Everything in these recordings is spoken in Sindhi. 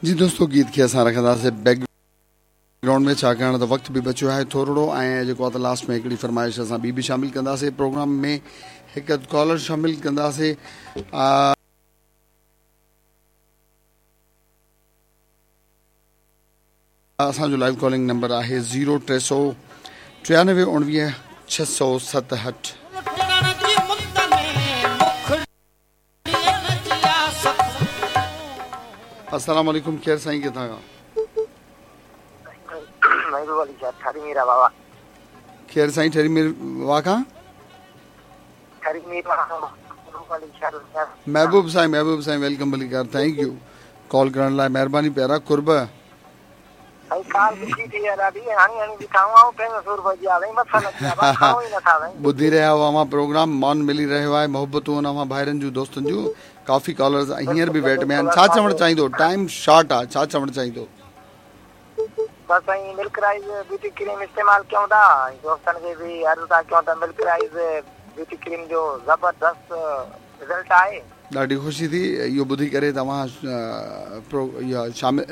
جي دوستو گيت کي اسان رکنداسين بيڪ گرائونڊ ۾ ڇاڪاڻ ته وقت به بچيو آهي ٿورڙو ۽ جيڪو آهي ته لاسٽ ۾ هڪڙي فرمائش اسان ٻي به شامل ڪنداسين پروگرام ۾ هڪ ڪالر شامل ڪنداسين اسان جو لائيو ڪالنگ نمبر آهي زيرو ٽي سو ٽيانوي اڻويهه ڇهه سو ستهٺ. السلام عليڪم ڪير سائين ڪٿان کان. محبوب علي شاھ ٺري ميرا واوا. ڪير سائين ٺري مير واھ کان. ٺري مير واھ کان محبوب علي شاھ. محبوب سائين محبوب سائين welcome ڀلي ڪر thank you call ڪرڻ لاء مهرباني پيارا قرب. سائين ڪال ڏکي ٿي آ ڏاڍي هڻي هڻي بيٺا آهيون آئون ٽنگ سور پئجي آ سائين مٿا لڳي آ بس کڻو ئي نٿا سائين. ٻڌي رهيا آهيو اوهان پروگرام مان ملي رهيو آهي محبتون اوهان ڀائرن جون دوستن جون ڪافي ڪالرز هينئر به ويٽ ۾ آهن ڇا چوڻ چاهيندو ٽائيم شارٽ آ ڇا چوڻ چاهيندو. بس سائين ملڪ رائز بيوٽي ڪريم استعمال ڪيون ٿا ۽ دوستن کي به عرض ٿا ڪيون ته ملڪ رائز بيوٽي ڪريم جو زبردست رزلٽ آهي. ڏاڍي خوشي ٿي اهو ٻڌي ڪري ته اوهان شامل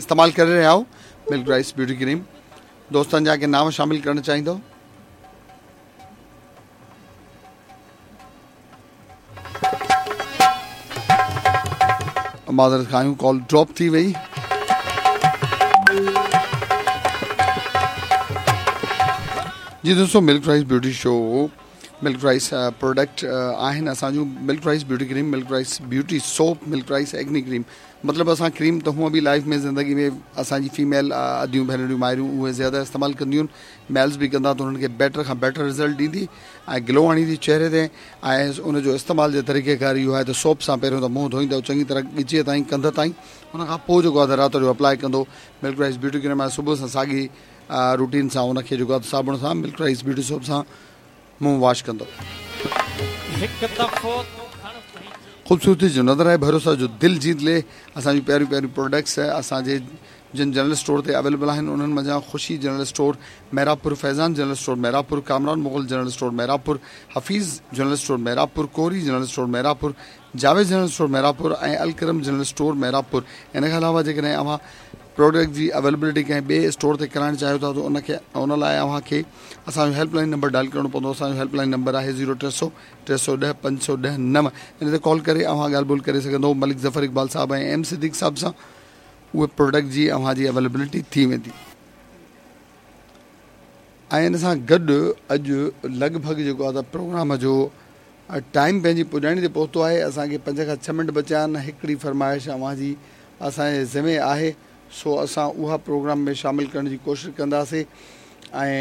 استعمال ڪري رهيا آهيو ملڪ رائس بيوٽي ڪريم دوستن جا ڪي نام شامل ڪرڻ چاهيندو. معذرت کان آهيون ڪال ڊراپ ٿي وئي. جي دوستو milk rice beauty show milk rice product آهن اسان جون milk rice beauty cream milk rice beauty soap milk rice acne cream مطلب اسان ڪريم ته هونء به لائف ۾ زندگي ۾ اسان جي فيميل اديون ڀينريون مائريون اهي زياده استعمال ڪنديون آهن ميلز به ڪندا ته انهن کي بيٽر کان بيٽر رزلٽ ڏيندي ۽ گلو آڻيندي چهري تي ۽ ان جو استعمال جو طريقه ڪار اهو آهي ته سوپ سان پهريون ته منهن ڌوئيندو چڱي طرح ڳچيء تائين ڪنڌ تائين ان کان پوء جيڪو آهي رات جو اپلائي ڪندو ملڪ رائس بيوٽي ڪريم آهي صبح سان ساڳي روٽين سان ان کي جيڪو آهي صابڻ سان ملڪ رائس بيوٽي سوپ سان منهن واش ڪندو. خوبصورتي جو نظر آهي ڀروسا جو دل جيت لي اسان جون پياريون پياريون پروڊڪٽس اسان جي جن جنرل اسٽور تي اويليبل آهن انهن منجهان Khushi general store Mehrabpur Faizan general store Mehrabpur Kamran Mughal general store Mehrabpur Hafeez general store Mehrabpur Kori general store Mehrabpur Javed general store Mehrabpur ۽ Alkaram general store Mehrabpur ان کان علاوه جيڪڏهن اوهان پروڊڪٽ جي اويلبلٽي ڪنهن ٻئي اسٽور تي ڪرائڻ چاهيو ٿا ته ان کي ان لاء اوهان کي اسان جو هيلپ لائن نمبر ڊائل ڪرڻو پوندو اسان جو هيلپ لائن نمبر آهي زيرو ٽي سو ٽي سو ڏهه پنج سو ڏهه نو ان تي ڪال ڪري اوهان ڳالهه ٻولهه ڪري سگهندو ملڪ ظفر اقبال صاحب ۽ ايم صديق صاحب سان اهي پروڊڪٽ جي اوهان جي اويلبلٽي ٿي ويندي ۽ ان سان گڏ اڄ لڳ ڀڳ جيڪو آهي ته پروگرام جو ٽائيم پنهنجي پڄاڻي تي پهتو آهي اسان کي پنج کان ڇهه منٽ بچيا آهن هڪڙي فرمائش اوهان جي اسان جي ذمي آهي سو اسان اها پروگرام ۾ شامل ڪرڻ جي ڪوشش ڪنداسي ۽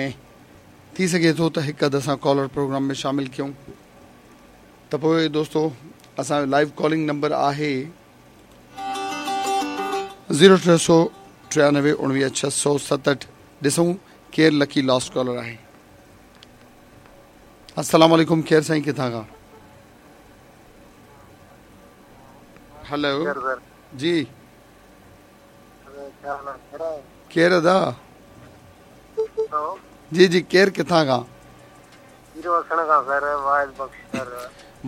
ٿي سگهي ٿو ته هڪ اڌ اسان ڪالر پروگرام ۾ شامل ڪيون ته پوء دوستو اسان جو لائيو ڪالنگ نمبر آهي زيرو ٽي سو ٽيانوي اڻويهه ڇهه سو ستهٺ ڏسون ڪير لڪي لاسٽ ڪالر آهي السلام عليڪم ڪير سائين ڪٿان کان هلو جي ڪير ادا جي جي ڪير ڪٿان کان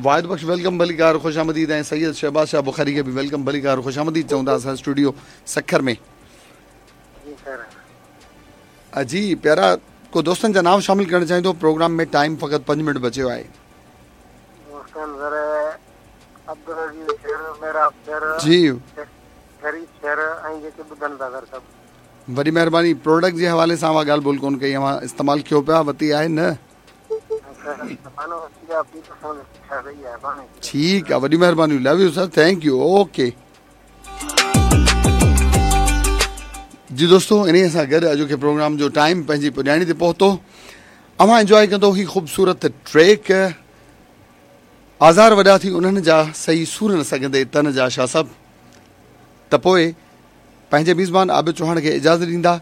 واحد بخش welcome ڀليڪار خوش آمديد ۽ سيد شهباز شاهه بخاري کي به welcome ڀليڪار خوش آمديد چون ٿا اسان اسٽوڊيو سکر ۾ جي سر جي پيارا ڪو دوستن جا نام شامل ڪرڻ چاهيندو پروگرام ۾ ٽائيم فقط پنج منٽ بچيو آهي دوستن سر عبدالعزيز شر محراب شر جي شريف شر ۽ جيڪي ٻڌن ٿا سر سڀ. وڏي مهرباني پروڊڪٽ جي حوالي سان اوهان ڳالهه ٻولهه ڪونه ڪئي اوهان استعمال ڪيو پيا وتي آهي نه. ٺيڪ آ وڏي مهرباني love you sir thank you okay. جي دوستو انهي سان گڏ اڄوڪي پروگرام جو ٽائيم پنهنجي پڄاڻي تي پهتو اوهان انجوائي ڪندو هي خوبصورت ٽريڪ آزار وڏا ٿي انهن جا سهي سور نه سگهندي تن جا شاهه صاحب ته پوء پنهنجي ميزبان عابد چوهاڻ کي اجازت ڏيندا.